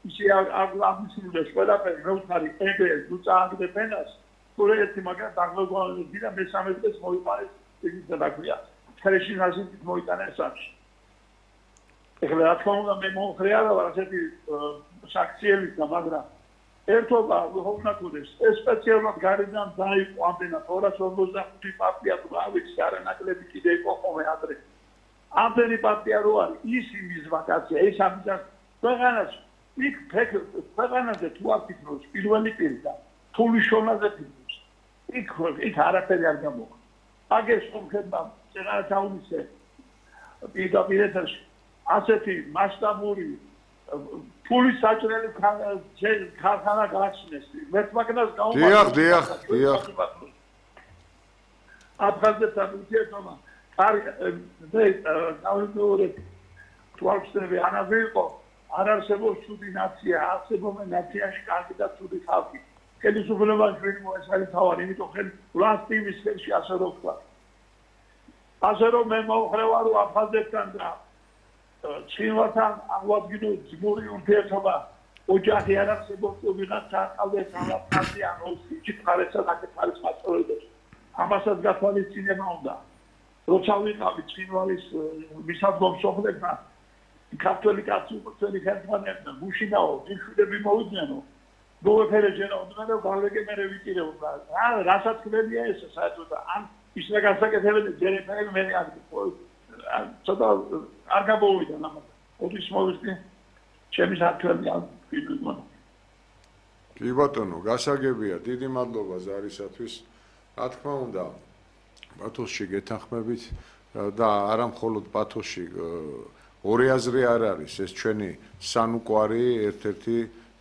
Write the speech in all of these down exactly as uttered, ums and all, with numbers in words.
ისე აღმისრულებს ყველაფერი მეუთხარი ეგრეს თუ წააგდე ფენას თუ ერთი მაგრამ დაგმოგვანები და მესამე დღეს მოიყვანეს ისიც და ქვია ხელში ნაზით მოიტანეს სამში ეხლა რა თქმა უნდა მე მომხრე არა ვარ ასეთი საქციელი და მაგრამ ერთობა ვიხოვნაკუდეს ეს სპეციალურად გარედან დაიყო ამდენად ორას ორმოცდახუთი პარტია თუ ავიცი არანაკლები კიდე იყო ხოლმე ადრე ამდენი პარტია რო არის ის იმის ვაკაცია ეს ამიტომ ქვეყანას იქ ქვეყანაზე თუ აფიქროს პირველი პირი და თულიშონაზე ფიქროს იქ იქ არაფერი არ გამოვა აგერ სომხებმა წერათავისე პირდაპირ ასეთი მასშტაბური ფულის საჭრელი ქარხანა გააჩნეს მეთმაკნას გაუმართლა დიახ დიახ დიახ აფხაზეთთან ურთიერთობა არ მე დავიდორი თვალწინები ანაზე იყო არ არსებობს ცუდი ნაცია არსებობენ ნაციაში კარგი და ცუდი ხალხი ხელისუფლებაში ვინ მოესწარი თავარი იმიტომ ხელი ვლასტივის ხელში ასე რო ვთქვა ასე რომ მე მოხრე ვარ აფხაზეთთან და ჩინვართან აღვადგინო ძმური ურთიერთობა ოჯახი არ არსებობს ვიღაც ახალეს ალაფხაზი ან სიჩქარეცა და კეთარის მასწავლებლებს ამასაც გათვალისწინება უნდა როცა ვიყავი ჩინვალის მისადგომ სოფლებთან ქართველი კაცი უცხოელი ხელმძღვანელები გუშინაო ძილშვილები მოვიდნენ გოეფერეჯენა უნდა გავეგე მე ვიტირებ რა რასაც ხმებია ეს საერთოდ ან ის რა გასაკეთებენ ჯერეფერი მე არ ცოტა არ გამოვიდა ამას ოდის მოვისდი ჩემი საქმე არ ვიგონა კი ბატონო გასაგებია დიდი მადლობა ზარისათვის რა თქმა უნდა პათოსში გეთანხმებით და არა მხოლოდ პათოსში ორი აზრი არ არის ეს ჩვენი სანუკვარი ერთ-ერთი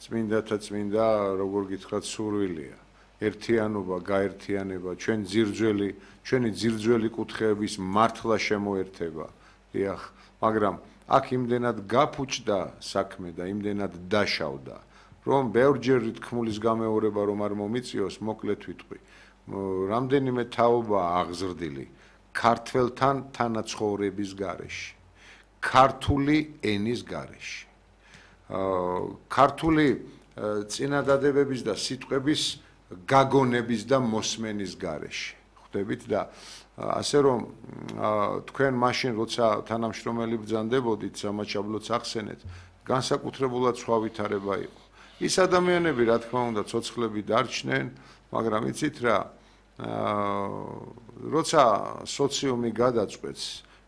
წმინდათა წმინდა როგორ გითხრათ სურვილია ერთიანობა გაერთიანება ჩვენ ძირძველი ჩვენი ძირძველი კუთხეების მართლა შემოერთება დიახ მაგრამ აქ იმდენად გაფუჭდა საქმე და იმდენად დაშავდა რომ ბევრჯერ თქმულის გამეორება რომ არ მომიწიოს მოკლედ ვიტყვი რამდენიმე თაობა აღზრდილი ქართველთან თანაცხოვრების გარეშე ქართული ენის გარეშე ქართული წინადადებების და სიტყვების გაგონების და მოსმენის გარეშე ხვდებით და ასე რომ თქვენ მაშინ როცა თანამშრომელი ბრძანდებოდით სამაჩაბლოც ახსენეთ განსაკუთრებულად სხვა ვითარება იყო ის ადამიანები რა თქმა უნდა ცოცხლები დარჩნენ მაგრამ იცით რა როცა სოციუმი გადაწყვეტს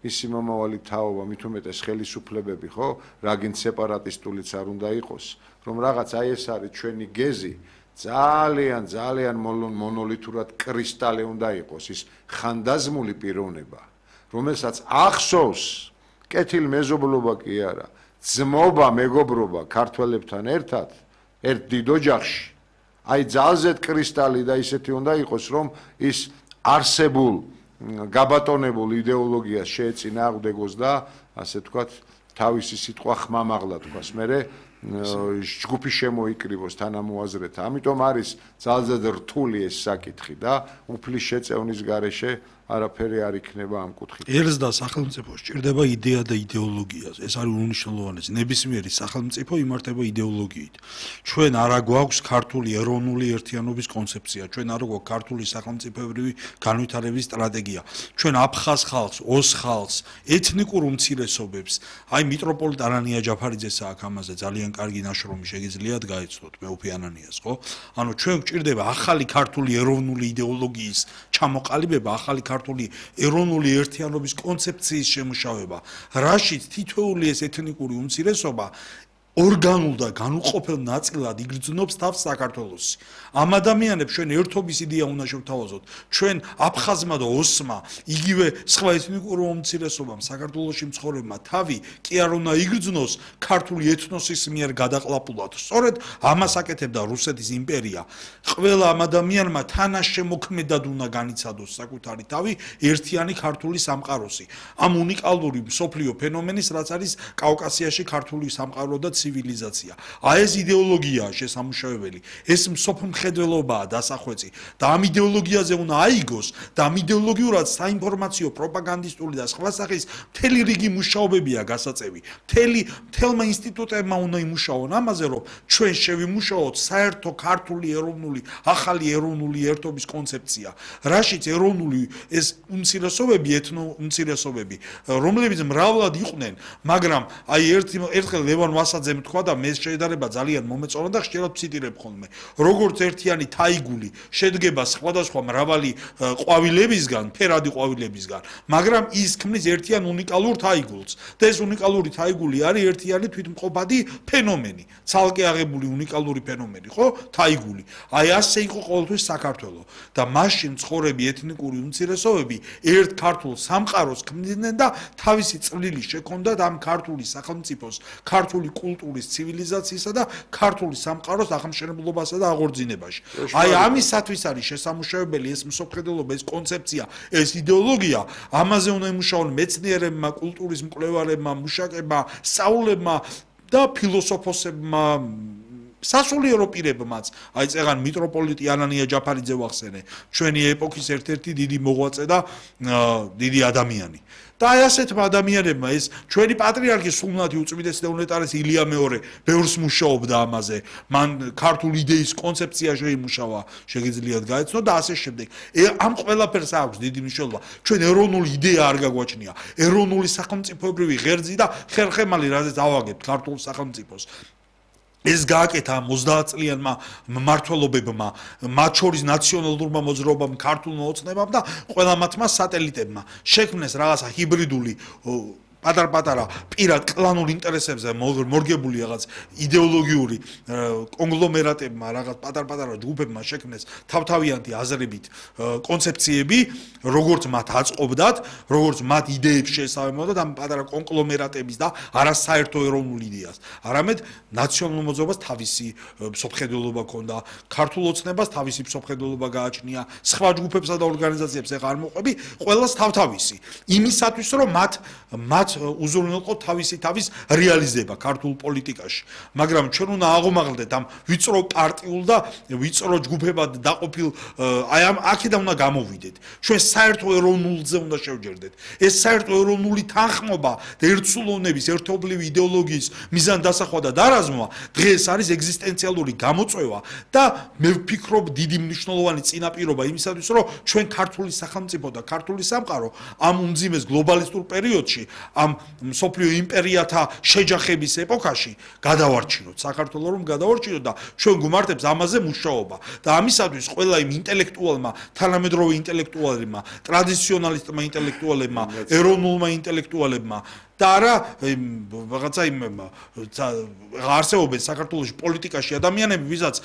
ისი მომავალი თაობა მით უმეტეს ხელისუფლებები ხო რაგინ სეპარატისტულიც არ უნდა იყოს რომ რაღაც აი ეს არის ჩვენი გეზი ძალიან ძალიან მონოლითურად კრისტალი უნდა იყოს ის ხანდაზმული პიროვნება რომელსაც ახსოვს კეთილ მეზობლობა კი არა ძმობა მეგობრობა ქართველებთან ერთად ერთ დიდ ოჯახში აი ძალზედ კრისტალი და ისეთი უნდა იყოს რომ ის არსებულ გაბატონებულ იდეოლოგიას შეეწინააღმდეგოს და ასე თქვათ თავისი სიტყვა ხმამაღლა თქვას მერე ჯგუფი შემოიკრიბოს თანამოაზრეთა ამიტომ არის ძალზედ რთული ეს საკითხი და უფლის შეწევნის გარეშე არაფერი არ იქნება ამ კუთხით. ერს და სახელმწიფოს ჭირდება იდეა და იდეოლოგია. ეს არის უნიშნელოვანესი. ნებისმიერი სახელმწიფო იმართება იდეოლოგიით. ჩვენ არა გვაქვს ქართული ეროვნული ერთიანობის კონცეფცია. ჩვენ არა გვაქვს ქართული სახელმწიფოებრივი განვითარების სტრატეგია. ჩვენ აფხაზ ხალხს, ოს ხალხს, ეთნიკურ უმცირესობებს, აი მიტროპოლიტ ანანია ჯაფარიძეს აქვს ამაზე ძალიან კარგი ნაშრომი შეგიძლიათ გაეცნოთ მეუფე ანანიას, ხო? ანუ ჩვენ გვჭირდება ახალი ქართული ეროვნული იდეოლოგიის ჩამოყალიბება, ახალი ქართული ეროვნული ერთიანობის კონცეფციის შემუშავება, რაშიც თითოეული ეს ეთნიკური უმცირესობა ორგანულ და განუყოფელ ნაწილად იგრძნობს თავს საქართველოსი. ამ ადამიანებს ჩვენ ერთობის იდეა უნდა შევთავაზოთ. ჩვენ აფხაზმა და ოსმა, იგივე სხვა ეთნიკურ უმცირესობამ საქართველოსში მცხოვრებმა თავი კი არ უნდა იგრძნოს ქართული ეთნოსის მიერ გადაყლაპულად. სწორედ ამას აკეთებდა რუსეთის იმპერია. ყველა ამ ადამიანმა თანაშემოქმედად უნდა განიცადოს საკუთარი თავი ერთიანი ქართული სამყაროსი. ამ უნიკალური მსოფლიო ფენომენის, რაც არის კავკასიაში ქართული სამყარო და ცივილიზაცია. აი ეს იდეოლოგიაა შესამუშავებელი. ეს მსოფლმხედველობაა დასახვეწი და ამ იდეოლოგიაზე უნდა აიგოს და ამ იდეოლოგიურად საინფორმაციო, პროპაგანდისტული და სხვა სახის მთელი რიგი მუშაობებია გასაწევი. მთელი მთელმა ინსტიტუტებმა უნდა იმუშაონ ამაზე, რომ ჩვენ შევიმუშაოთ საერთო ქართული ეროვნული ახალი ეროვნული ერთობის კონცეფცია. რაშიც ეროვნული ეს უმცირესობები, ეთნო უმცირესობები, რომლებიც მრავლად იყვნენ, მაგრამ აი ერთ ერთხელ ლევან ვასაძემ თქვა და მე შედარება ძალიან მომეწონა და ხშირად ვციტირებ ხოლმე. როგორც ერთიანი თაიგული შედგება სხვადასხვა მრავალი ყვავილებისგან, ფერადი ყვავილებისგან, მაგრამ ის ქმნის ერთიან უნიკალურ თაიგულს. და ეს უნიკალური თაიგული არის ერთიანი თვითმყოფადი ფენომენი, ცალკე აღებული უნიკალური ფენომენი, ხო? თაიგული. აი ასე იყო ყოველთვის საქართველო და მაშინ ცხოვრები ეთნიკური უმცირესობები ერთ ქართულ სამყაროს ქმნიდნენ და თავისი წვლილი შექონდათ ამ ქართული სახელმწიფოს, ქართული კულტურის, ცივილიზაციისა და ქართული სამყაროს აღმშენებლობასა და აღორძინებაში. აი ამისათვის არის შესამუშავებელი ეს მსოფლმხედველობა, ეს კონცეფცია, ეს იდეოლოგია, ამაზე უნდა იმუშაონ მეცნიერებმა, კულტურის მკვლევარებმა, მუშაკებმა, სწავლულებმა და ფილოსოფოსებმა, სასულიერო პირებმაც. აი წეგან მიტროპოლიტი ანანია ჯაფარიძე ვახსენე, ჩვენი ეპოქის ერთ-ერთი დიდი მოღვაწე და დიდი ადამიანი. და აი ასეთმა ადამიანებმა ეს ჩვენი პატრიარქი სულნათი უწმიდესი და უნეტარესი ილია მეორე ბევრს მუშაობდა ამაზე. მან ქართული იდეის კონცეფცია შეიმუშავა, შეგიძლიათ გაეცნო და ასე შემდეგ. ამ ყველაფერს აქვს დიდი მნიშვნელობა. ჩვენ ეროვნული იდეა არ გაგვაჩნია. ეროვნული სახელმწიფოებრივი ღერძი და ხერხემალი, რაზეც ავაგებთ ქართულ სახელმწიფოს. ეს გააკეთა ოცდაათ წლიანმა მმართველობებმა, მათ შორის ნაციონალურმა მოძრაობამ, ქართულმა ოცნებამ და ყველა მათმა სატელიტებმა. შექმნეს რაღაცა ჰიბრიდული პატარ-პატარა პირად კლანურ ინტერესებზე მორგებული რაღაც იდეოლოგიური კონგლომერატებმა, რაღაც პატარ-პატარა ჯგუფებმა შექმნეს თავთავიანთი აზრებით კონცეფციები, როგორც მათ აწყობდათ, როგორც მათ იდეებს შეესაბამებოდათ ამ პატარა კონგლომერატების და არასაერთო ეროვნულ იდეას. არამედ ნაციონალურ მოძრაობას თავისი მსოფლმხედველობა ჰქონდა, ქართულ ოცნებას თავისი მსოფლმხედველობა გააჩნია, სხვა ჯგუფებსა და ორგანიზაციებს ეხარ მოყვები, ყველას თავთავისი. იმისათვის რომ მათ მათ უზრუნველყო თავისი თავის რეალიზება ქართულ პოლიტიკაში. მაგრამ ჩვენ უნდა აღომაღლდეთ ამ ვიწრო პარტიულ და ვიწრო ჯგუფებად დაყოფილ აი ამ აქედან უნდა გამოვიდეთ. ჩვენ საერთო ეროვნულზე უნდა შევჯერდეთ. ეს საერთო ეროვნული თანხმობა და ერთსულოვნების, ერთობლივი იდეოლოგიის მიზანდასახვა და დარაზმვა დღეს არის ეგზისტენციალური გამოწვევა და მე ვფიქრობ დიდი მნიშვნელოვანი წინაპირობა იმისათვის, რომ ჩვენ ქართული სახელმწიფო და ქართული სამყარო ამ უმძიმეს გლობალისტურ პერიოდში ამ მსოფლიო იმპერიათა შეჯახების ეპოქაში გადავარჩინოთ საქართველოს რომ გადავარჩინოთ და ჩვენ გუმართებს ამაზე მუშაობა და ამისათვის ყველა იმ ინტელექტუალმა, თანამედროვე ინტელექტუალებმა, ტრადიციონალისტმა ინტელექტუალებმა, ეროვნულმა ინტელექტუალებმა და არა რაღაცა იმ არსებობენ საქართველოში პოლიტიკაში ადამიანები, ვისაც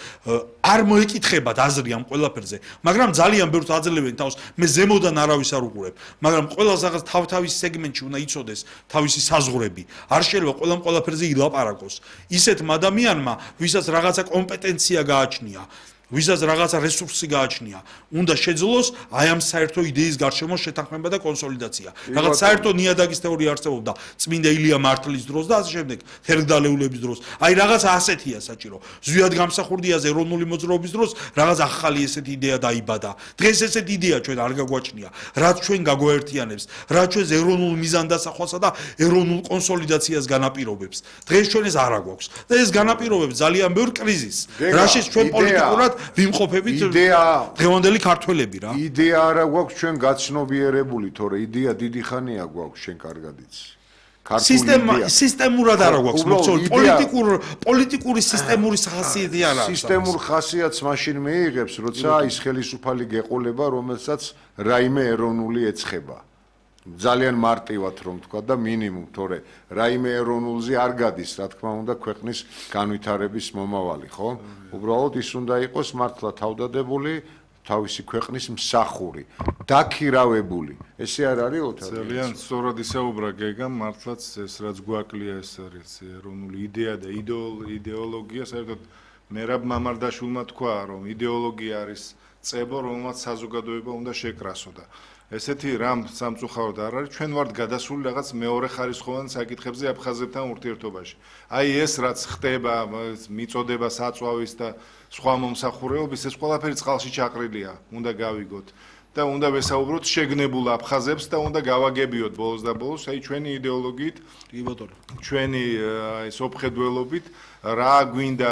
არ მოეკითხებათ აზრი ამ ყველაფერზე, მაგრამ ძალიან ბევრს აძლევენ თავს, მე ზემოდან არავის არ უყურებ, მაგრამ ყველას რაღაც თავ-თავის სეგმენტში უნდა იცოდეს თავისი საზღვრები. არ შეიძლება ყველამ ყველაფერზე ილაპარაკოს. ისეთმა ადამიანმა, ვისაც რაღაცა კომპეტენცია გააჩნია, ვისაც რაღაცა რესურსი გააჩნია, უნდა შეძლოს აი ამ საერთო იდეის გარშემო შეთანხმება და კონსოლიდაცია. რაღაც საერთო ნიადაგის თეორია არსებობდა წმინდა ილია მართლის დროს და ასე შემდეგ, თერგდალეულების დროს. აი რაღაცა ასეთია საჭირო. ზვიად გამსახურდიაზე ეროვნული მოძრაობის დროს რაღაც ახალი ესეთი იდეა დაიბადა. დღეს ესეთი იდეა ჩვენ არ გაგვაჩნია, რაც ჩვენ გაგვაერთიანებს, რაც ჩვენს ეროვნულ მიზანდასახვასა და ეროვნულ კონსოლიდაციას განაპირობებს. დღეს ჩვენ ეს არ აგვაქვს და ეს განაპირობებს ძალიან ბევრ კრიზისს, რაშიც ჩვენ პოლიტიკურად ვიმყოფებით დღევანდელი ქართველები რა. იდეა არა გვაქვს ჩვენ გაცნობიერებული, თორე იდეა დიდი ხანია გვაქვს ჩვენ კარგად იცი. სისტემა სისტემურად არა გვაქვს მოქცეული პოლიტიკურ პოლიტიკური სისტემური ხასიათი არ აქვს. სისტემურ ხასიათს მაშინ მეიღებს, როცა ის ხელისუფალი გეყოლება, რომელსაც რაიმე ეროვნული ეცხება. ძალიან მარტივად რომ თქვა და მინიმუმ, თორე რაიმე ეროვნულზე არ გადის, რა თქმა უნდა, ქვეყნის განვითარების მომავალი, ხო? უბრალოდ ის უნდა იყოს მართლა თავდადებული, თავისი ქვეყნის მსახური, დაქირავებული. ესე არ არის ოთარ? ძალიან სწორად ისაუბრა გეგამ, მართლაც ეს რაც გვაკლია ეს არის ეროვნული იდეა და იდეოლოგია, საერთოდ მერაბ მამარდაშვილმა თქვა, რომ იდეოლოგია არის წებო, რომელმაც საზოგადოება უნდა შეკრასო და ესეთი რამ სამწუხაროდ არ არის, ჩვენ ვართ გადასული რაღაც მეორე ხარისხოვან საკითხებზე აფხაზებთან ურთიერთობაში. აი ეს რაც ხდება, მიწოდება საწვავის და სხვა მომსახურეობის, ეს ყველაფერი წყალში ჩაყრილია, უნდა გავიგოთ. და უნდა ვესაუბროთ შეგნებულ აფხაზებს და უნდა გავაგებიოთ ბოლოს და ბოლოს, აი ჩვენი იდეოლოგიით, კი ბატონო. ჩვენი აი სოფხედველობით რა გვინდა